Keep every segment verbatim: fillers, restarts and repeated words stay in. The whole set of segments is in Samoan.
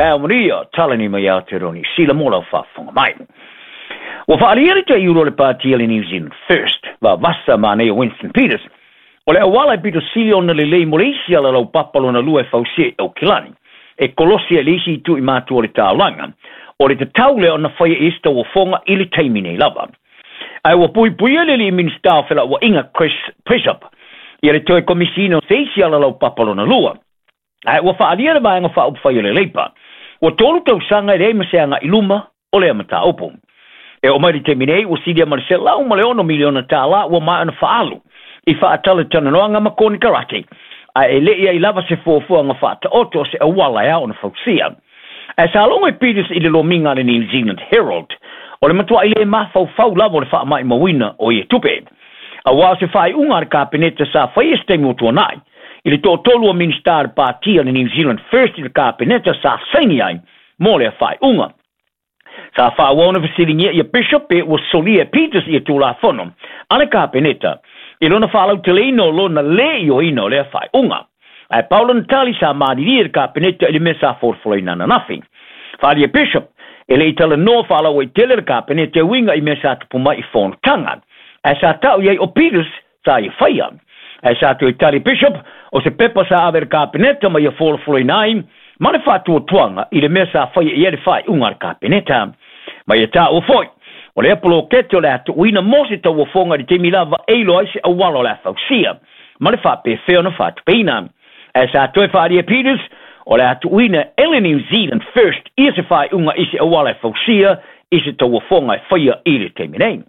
Taeao manuia, talani mai Aotearoa Niu Sila mo lau faafofoga mai. Ua faaalia le taiulu o le pātia le New Zealand First, vavasa manaia Winston Peters. O le auala e pito sili ona lelei mo le isi ala laupapa lona lua e fausia i Aukilani, e kolosi ai le isi itu i matua o le taulaga, o le tatau lea ona faia i isi tauofoga i le taimi nei lava. Ae ua puipuia le alii Minisita o Felauaiga Chris Bishop ia le toe komisiina o se isi ala laupapa lona lua. Ae ua faaalia le vaega faaupufai o le Leipa, ua tolu tausaga e leai ma se agai luma o lea mataupu. E oo mai le taimi nei, ua silia ma le selau ma le ono miliona tālā ua maea ona faaalu i faatalatalanoaga ma konekarate, ae e le i ai lava se fuafuaga faataoto o se auala e ao ona fausia. Ae sa logo e Peters i le lomiga a le New Zealand Herald, o le matuai le mafaufau lava o le faamaimauina o ia tupe. Aua o se faaiuga a le Kapeneta sa faia se taimi ua tuanai, i le toatolu o Minisita a le Pātia le New Zealand First i le Kapeneta sa saini ai mo lea faaiuga. Sa faaauau ona fesiligia ia Bishop pe ua solia e Peters ia Tulafono a le Kapeneta i lona faalauteleina o lona le ioeina o lea faaiuga. Ae pau lona tali sa malilie le Kapeneta i le mea sa folafolaina ananafi. Faaalia Bishop e le i talanoa faalauaitele le Kapeneta e uiga i mea sa tupu mai i fonotaga, ae sa tau i ai o Peters sa ia faia. Ae sa toe tali Bishop o se pepa sa ave i le Kapeneta ma ia folafolaina ai ma le faatuatuaga i le mea sa faia i ai le faaiuga a le Kapeneta. Ma ia taua foi, o lea polokete o le a tuuina mo se tauofoga i le taimi lava e iloa ai se auala o le a fausia ma le faapefea ona faatupeina. Ae sa toe faaalia Peters o le a tuuina e le New Zealand First ia se faaiuga i se auala e fausia i se tauofoga e faia i le taimi nei.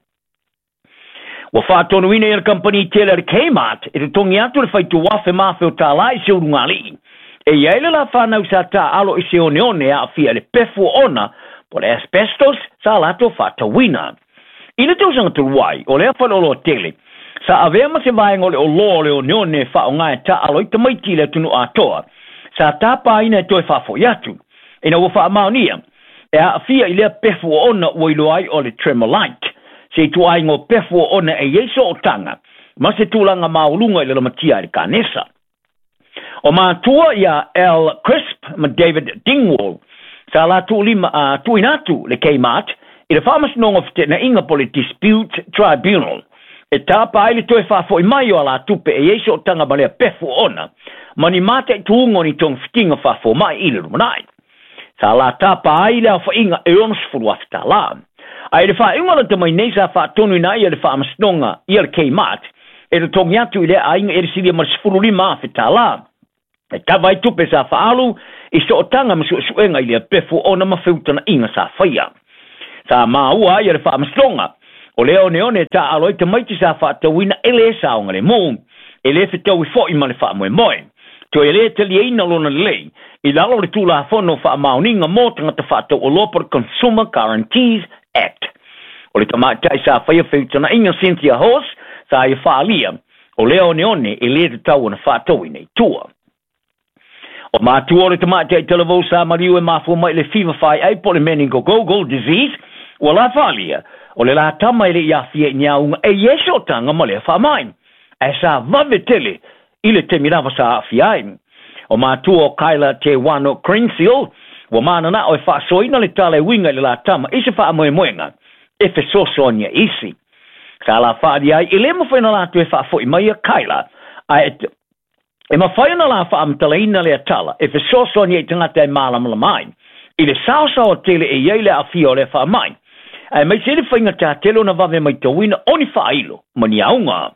Ua faatonuina ia le kamupani tele a le Kmart e totogi atu le faituafe ma afe o tālā i se ulugalii. E i ai le la whanau sa tāalo i se oneone e aafia i le pefu o ona po le asbestos sa latou faatauina. I le tausaga talu ai, o lea faleoloa tele, sa avea ma se vaega o le oloa o le oneone e faaaoga e taaalo ai tamaiti i le atunuu atoa, sa tapaina e toe faafoi atu. Ina ua faamaonia, e aafia i lea pefu o ona ua iloa ai o le tremolite, se ituaiga o pefu o ona e i ai sootaga ma se tulaga maualuga i le lamatia ai le kanesa. O matua ia Al Crisp ma David Dingwall sa latou lima a tuuina atu le Kmart i le Faamasinoga o Feteenaiga po o le Dispute Tribunal e tapa ai le toe faafoi mai o a la tupe e i ai sootaga ma lea pefu o ona ma ni mataituuga o ni togafitiga faafomai i le lumanai. Sa la tapa ai le aofaiga e onosefulu afe tālā. Ae i le faaiuga lata mai nei sa faatonuina ai e le Faamasinoga ia le Kmart e totogi atu i lea aiga e le silia ma le sefulu lima afe tālā. E kava ai tupe sa faaalu i sootaga ma suesuega i lea pefu ona ma feutanaiga sa faia. Sa maua ai e le Faamasinoga o lea oneone e taaalo ai tamaiti sa faatauina e le saogalemu, e le fetaui foi ma le faamoemoe. Toe e le taliaina lona lelei i lalo o le Tulafono Faamaoniga mo Tagata Faatauoloa po o le Consumer Guarantees Act. O le tamaitai sa faia feutanaiga Cynthia Horse sa ia faaalia o lea oneone e le tatau ona faatauina i tua. O matua o le tamaitai talavou sa maliu e mafua mai i le fiva faiai po o le meningococcal disease ua la faaalia o le la tama e le i aafia i ni auga e i ai sootaga ma lea faamai, ae sa vave tele i le taimi lava sa aafia ai. O matua o Kyla Te Wano Crensil ua mananao e faasoaina le tala e uiga i le la tama i se faamoemoega e fesoasoani ai isi. Sa la faaalia ai e le mafai ona latou e faafoi mai ia Kyla, ae e mafai ona la faamatalaina lea tala e fesoasoani ai i tagata e malamalama ai i le saosaoa tele e i ai le aafia o lea faamai, aemaise le faigatā tele ona vave maitauina o ni faailo ma ni auga.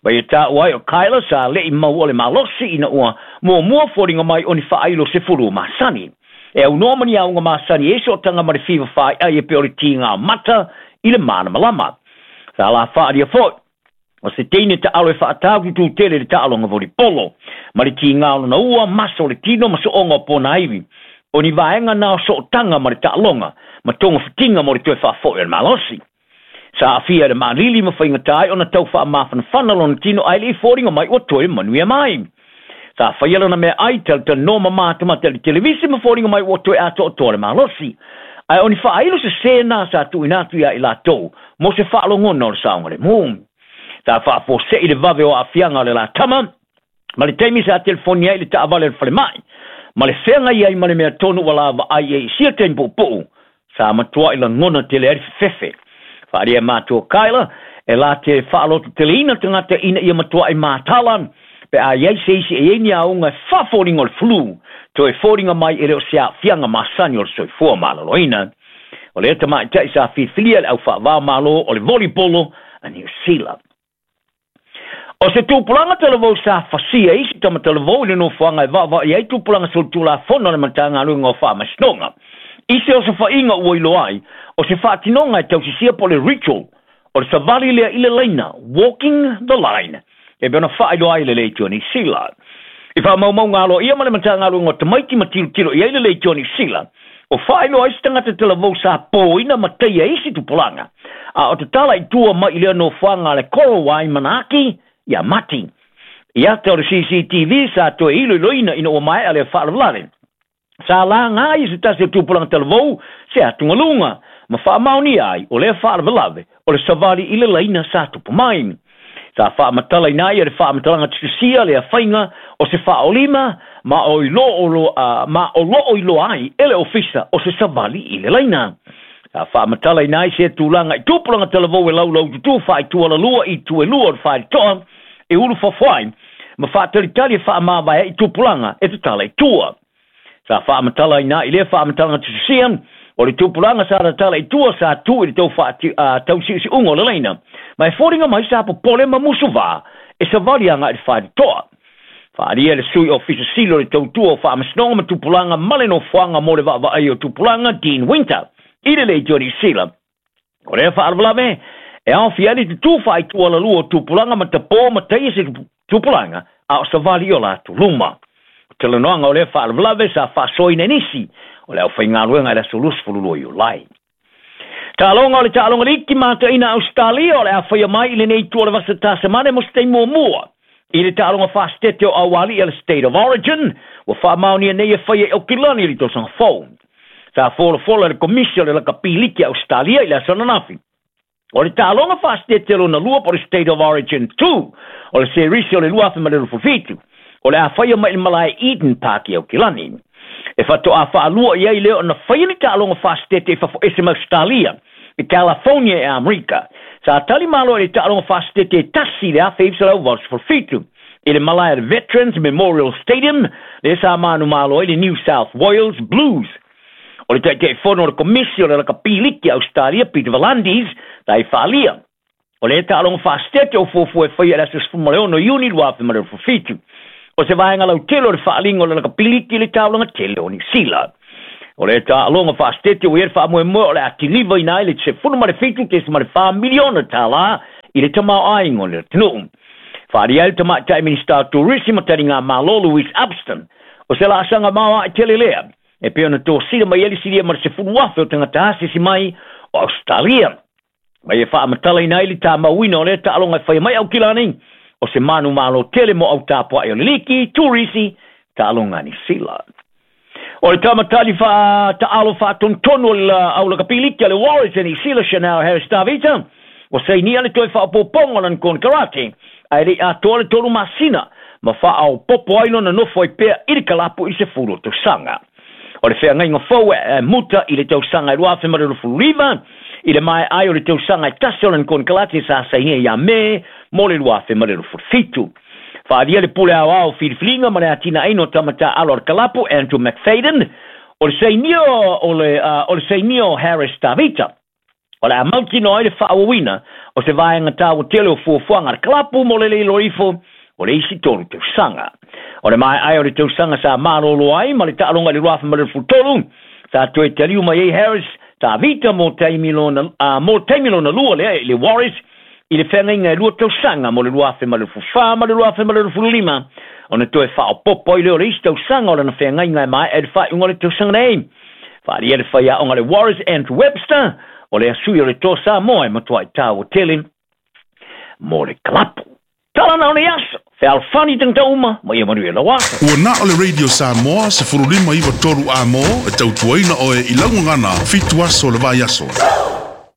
Ma ia taua ai o Kyla sa le'i maua le malosi ina ua muamua foliga mai o ni faailo sefulu masani. E aunoa ma ni auga masani e sootaga ma le fiva faaiai e pei o le tigā mata i le malamalama. Sa la faalia foi o se teine taalo e faatau tele le taaloga volipolo ma le tigā o lona ua, masa o le tino ma sooga o ponaivi. O ni vaega na o sootaga ma le taaloga ma togafitiga mo le toe faafoi o le malosi. Sa aafia i le maalili ma faigatā ai ona tau faamafanafana lona tino ae le i foliga mai ua toe manuia mai. Sa faia lona meaai talatalanoa ma matamata i le televise ma foliga mai ua toe atoatoa le malosi. Ae o ni faailo sesē na sa tuuina atu ia i latou mo se faalogona o le saogalemu. Sa faafuasei le vave o aafiaga o le la tama ma le taimi sa telefoni ai i le taavale o le falemai. Ma le feagai ai ma le mea tonu ua lavaai ai i sia taimi puupuu, sa matuai lagona tele ai le fefefe. Faaalia e matua Kyla, e la te faalototeleina tagata ina ia matuai matala, pe a iai se isi e iai ni auga e faafoliga o le flu, toe foliga mai e le o se aafiaga masani o le soifua maloloina. O lea tamaʻitaʻi sa filifilia le aufaavao malo o le volleyball a Niu Sila. O se tupulaga talavou sa fasia isi tamatalavou i le nofoaga e vaavaai ai tupulaga solitulafono a le Matagaluega o Faamasinoga. I se osofaiga ua iloa ai, o se faatinoga e tausisia po o le ritual, o le savali lea i le laina, walking the line, e pei ona faailoa ai le Leitio Niu Sila. I faamaumauga aloaia ma le Matagaluega o Tamaiti ma tilotilo i ai le Leitio Niu Sila, o faailoa ai se tagata talavou sa poina ma taia isi tupulaga, a o tatala i tua mai i lea nofoaga a le Korowai Manaaki ia Mati. I ata o le C C T V sa toe iloiloina ina ua maea lea faalavelave. Sa laga ai se tasi o tupulaga talavou se atugaluga, ma faamaonia ai o lea faalavelave o le savali i le laina sa tupu mai. Sa faamatalaina ai e le faamatalaga tutusia lea faiga o se faaolima ma o ma o loo iloa ai e le ofisa o se savali i le laina. Sa faamatalaina ai se tulaga i tupulaga talavou e laulaututu faaitualalua i tuelua o le faitoa e ulu fafoai ma faatalitali e faamavae i tupulaga e tatala i tua. Sa faamatalaina i lea faamatalaga tutusia o le tupulaga sa tatala i tua sa tu i le tau tausiusiuga o le laina, ma e foliga mai sa popole ma musuvā e savali agai i le faitoa. Faalia le sui ofisa sili o le tautua o Faamasinoga ma Tupulaga ma le nofoaga mo le vaavaai o tupulaga Dean Winter i le Leitio Niu Sila. O lea faalavelave e aofia ai le tutū faaitualalua o tupulaga ma tapō ma taia se tupulaga a o savali i o latou luma. O talanoaga o lea faalavelave sa faasoaina e nisi o le aufaigaluega i le aso luasefulu lua Iulai. Taaloga o le taaloga liki mataina Australia o le afaia mai i lenei itu o le vasa Tasamane mo se taimi muamua. I le taaloga faasitete o Auali'i a le State of Origin, ua faamaonia nei e faia i Aukilani i le tausaga fou. Sa folafola le komisi o le lakapi liki a Australia i le aso ananafi. O le taaloga faasitete lona lua po le State of Origin two, o le serisi o le lua afe ma le luasefulu fitu, o le afaia mai i le malae Eden Park i Aukilani. E fatoa faalua i ai lea ona faia ni taaloga faasitete i fafo ese ma Australia, i California e Amerika. Sa tali malo i le taaloga faasitete e tasi i le afe iva selau valusefulu fitu, i le malae Veterans Memorial Stadium, le sa manu malo ai le New South Wales Blues. O le taitaifono o le komisi o le lakapi liki a Australia, Peter V'landys, sa i faalia. O le taaloga faasitete o fuafua e faia i le aso sefulu ma le ono Iuni lua afe ma le luasefulu fitu. O se vaega lautele o le faaliga o le lakapi liki i le taulaga tele o Niu Sila. O le taaloga faasitete ua i ai le faamoemoe o le atilivaina ai le sefulu ma le fitu tesima le fa miliona tālā i le tamaoaiga o le atunuu. Faalia ai le tamaitai Minista o Turisi ma taliga Malo Louise Upston. O se laasaga maoae tele lea, e pei ona tosina mai ai le silia ma le sefulu afe o tagata asisi mai o Australia. Ma ia faamatalaina ai le tamauina o lea taaloga e faia mai Aukilani, o se manu malo tele mo autapuaʻi o le liki, turisi, taaloga a Niu Sila. O le tamatali faataalo faatonutonu o le aulakapi liki a le Warriors e Niu Sila, Chanel Harris Tavita, ua sainia le toe faaopoopoga o lana konekarate, ae leʻi atoa le tolu masina, ma faaopoopo ai lona nofo ai pea i le kalapu i sefulu o tausaga. O le feagaiga fou e muta i le tausaga e lua afe ma le luasefulu iva, i le maeai o le tausaga e tasi o lana konekarate sa sainia ia Me mo le lua afe ma le luasefulu fitu. Faalia le pule aoao filifiliga ma le atinaeina o tamataaalo a le kalapu Andrew McFadden, o le sainia o le, uh, o le sainia o Harris Tavita. O le a mautinoa ai le faaauauina o se vaega taua tele o fuafuaga a le kalapu mo le leilo ifo o le isi tolu tausaga. O le maeai o le tausaga sa malolo ai ma le taaloga i le lua afe ma le luasefulu tolu, sa toe taliu mai ai Harris Tavita mo taimi lona, uh, mo taimi lona lua lea i le Warriors i le feagaiga e lua tausaga mo le lua afe ma le luasefulu fa ma le lua afe ma le luasefulu lima, ona toe faaopoopo ai lea o le isi tausaga o lana feagaiga e maea i le faaiuga o le tausaga nei. Faalia le faiaoga le Warriors Andrew Webster, o le asui o le toa Samoa e matuai taua tele mo le kalapu. Tala na o le aso, fealofani tagata uma, ma ia manuia lau aso. Ua na o le Radio Samoa sefulu lima iva tolu a mo e tautuaina oe i laugagana fitu aso le vai aso.